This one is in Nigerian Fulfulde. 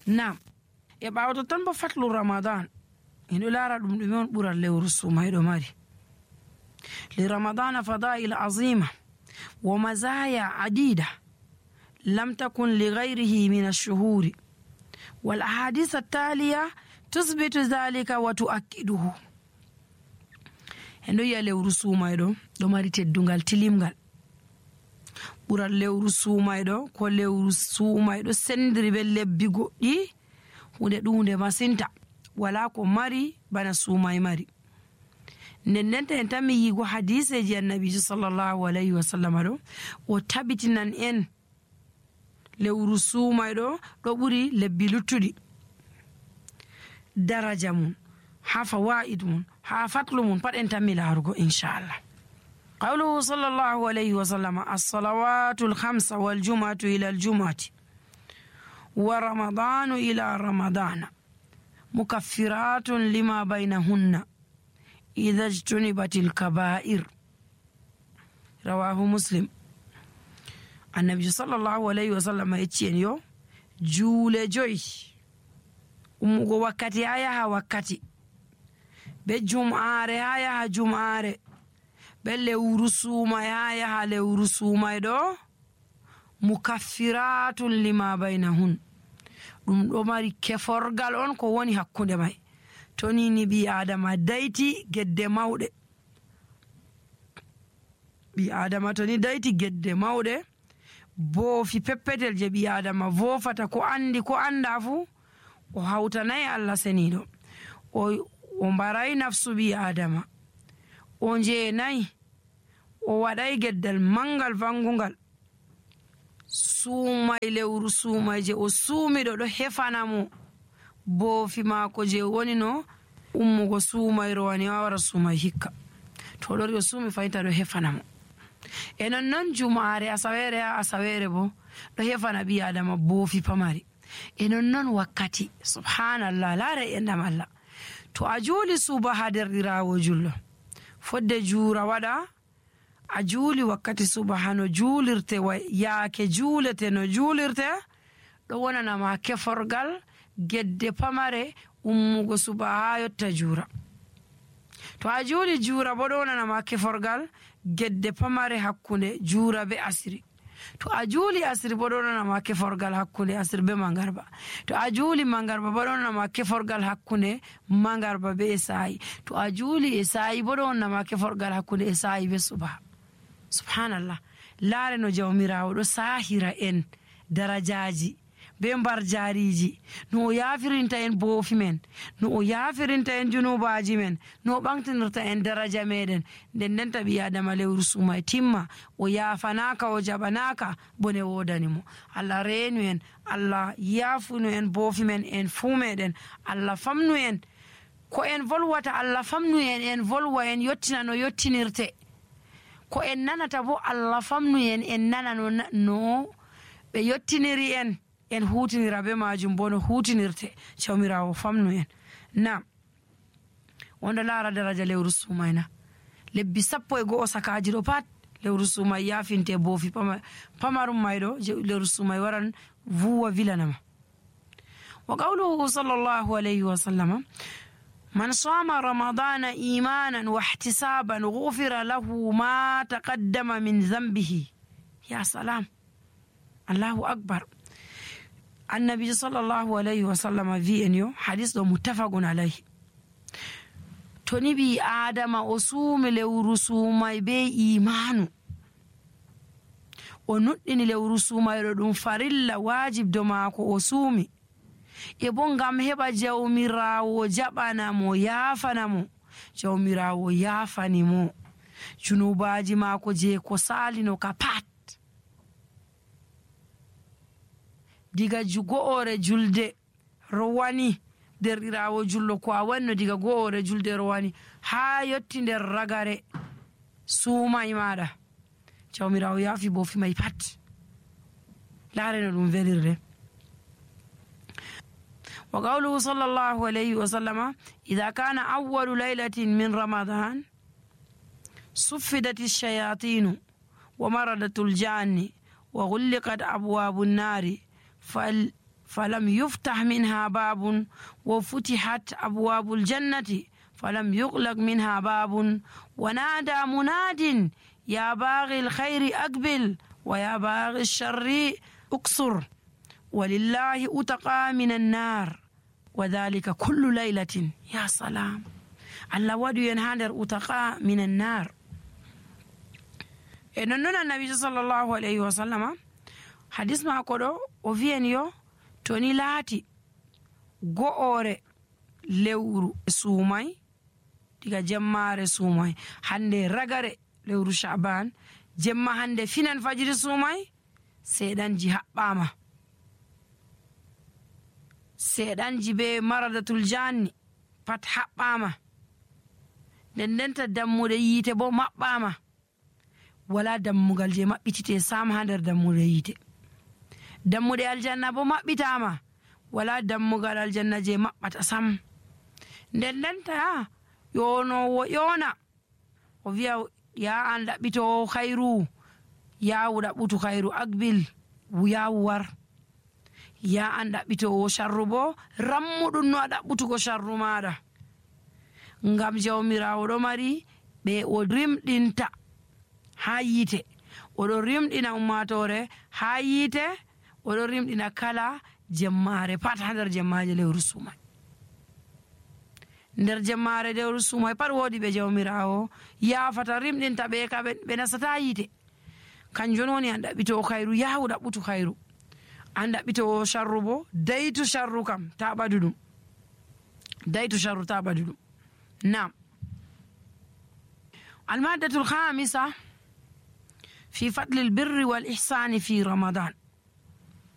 Nam e ɓawo ton bo fatlu ramadan en ɗo lara ɗum ɗume on ɓural lewru sumayɗo mari. li ramadana fadail azima wa mazaya adida lam takun li ghayrihi min ash-shuhuri wal ahadith at-taliya tusbitu dhalika wa tu'akkiduhu. en ɗo yi'a lewru sumayɗo ɗo mari teddungal tilimgal ɓural lewru sumayɗo ko lewru sumayɗo sendiri be lebbi goɗɗi hunde ɗunde masinta wala ko mari bana sumay mari. Ndendenta en tan mi yigo hadiseji annabijo sallallahu alayhi wa sallam ɗo o tabitinan en lewru sumayɗo ɗo ɓuri lebbi luttuɗi daraja mum ha fawaid mum ha fatlu mum pat en tan mi larugo inchallah. قوله صلى الله عليه وسلم الصلوات الخمس والجمعة إلى الجمعة ورمضان إلى رمضان مكفرات لما بينهن إذا اجتنبت الكبائر. رواه مسلم. النبي صلى الله عليه وسلم يتشين يو جول جوي umugo wakkati ha yaha wakkati be jum'are ha yaha jum'are be lewru sumay ha yaha lewru sumay ɗo mukaffiratun lima bainahun ɗum ɗo mari keforgal on ko woni hakkunde may. to ni bi adama dayti gedde mawɗe bi adama to ni dayti gedde mawɗe boofi peppetel je bi adama vofata ko andi ko anda fu o hawtanay Allah seniɗo o mbaray nafsu bi adama o jeenay o waɗay geddal mangal vangungal suumay lewru suumay je o suumiɗo ɗo hefana mo boofi maako je woni no ummugo suumayro wani wawara suumay hikka to ɗori o suumi fayinta ɗo hefana mo. e non jumare asawere ha asawere bo ɗo hefana ɓi adama boofi pamari. e non wakkati subhanallah laara endam Allah to a juuli suba ha derɗirawo jullo fodde juura waɗa a juuli wakkati suba hano juulirte yaake juulete no juulirte ɗo wonanama keforgal gedde pamare ummugo suba ha yotta juura. to a juuli juura bo ɗo wonanama keforgal gedde pamare hakkunde juura be asiri. to a juuli asiri bo ɗo wonanama keforgal hakkunde asiri be mangarba. to a juuli mangarba bo ɗo wonanama keforgal hakkunde mangarba be esayi. to a juuli esayi bo ɗo wonanama keforgal hakkunde esayi be suba. subhanallah laare no jawmirawo ɗo sahira en darajaji be mbar jariji no o yafirinta en boofi men no o yafirinta en junubaji men no o ɓamtinirta en daraja meɗen. nden taɓi adama lewru sumay timma o yafanaka o jaɓanaka bone wodanimo. Allah reenu en, Allah yafunu en boofi men en fuu meɗen, Allah famnu en ko en volwata, Allah famnu en volwa en yottina no yottinirte. ko en nanata bo Allah famnu en nana no ɓe yottiniri en hutinira be majum bo no hutinirte. jawmirawo famnu en. nam wonɗo laara daraja lewru sumayna lebbi 11 sakaji ɗo pat lewru sumay yafinte boofi pamarum mayɗo lewru sumay waran vuwa vilanama. wa qawluhu sallallahu alayhi wa sallam من صام رمضان إيمانا واحتسابا غفر له ما تقدم من ذنبه. يا سلام الله أكبر. النبي صلى الله عليه وسلم في أنيو حديث متفق عليه. تنبي آدم أصوم لورسوم بي إيمان ونطن لورسوم يردون فرلا واجب دماغو أصومي e bo ngam heɓa jawmirawo jaɓanamo yafanamo. jawmirawo yafanimo junubaji mako je ko salino ka pat diga go'ore julde rowani derɗirawo jullo ko a wanno diga go'ore julde rowani ha yotti nder ragare suumay maɗa jawmirawo yafi boofi may pat. laareno ɗum velirde. وقوله صلى الله عليه وسلم إذا كان أول ليلة من رمضان صفدت الشياطين ومردت الجان وغلقت أبواب النار فلم يفتح منها باب وفتحت أبواب الجنة فلم يغلق منها باب ونادى مناد يا باغي الخير أقبل ويا باغي الشر أقصر ولله أتقى من النار وذلك كل ليلة. يا سلام الله ودو ينهادر أتقى من النار. نون النبي صلى الله عليه وسلم حديث ما كدو وفين يو توني لاتي go'ore lewru suumay diga jemmare suumay hande ragare lewru sha'ban jemma hande finan fajiri suumay seedanji haɓɓama seedanji be maradatul janni pat haɓɓama ndendenta dammude yiite bo maɓɓama wala dammugal je maɓɓitite sam ha nder dammude yiite dammude aljanna bo maɓɓitama wala dammugal aljanna je maɓɓata sam ndendenta yonowo yona o wiya ya an ɗaɓɓitowo khairu yawu ɗaɓɓutu khairu akbil yawu war ya an ɗaɓɓitowo sharru bo rammuɗum no a ɗaɓɓutugo sharru maɗa ngam jawmirawo ɗo mari ɓe o rimɗinta ha yiite oɗo rimɗina ummatore ha yiite oɗo rimɗina kala jemmare pat ha nder jemmaje lewru sumay nder jemmare lewru sumay pat wodi ɓe jawmirawo yafata rimɗinta ɓe ka ɓe nasata yiite kanjum woni an ɗaɓɓitowo khairu yahu ɗaɓɓutu khairu an ɗaɓɓitowo sharru bo daytu sharru kam ta ɓadu ɗum daytu sharru ta ɓadu ɗum. نعم. المادة الخامسة في فضل البر والإحسان في رمضان.